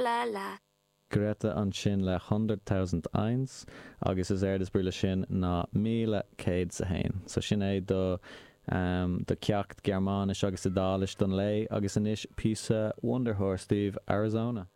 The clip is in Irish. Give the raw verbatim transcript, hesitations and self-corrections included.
la la. Greta ansin le Hunderttausend Eins agus is éard is brí le sin ná míle céad 's a haon. So sin é do ehm do ceacht Gearmáinis agus Iodáilis don lae agus anois píosa Wunderhorse daoibh, Arizona.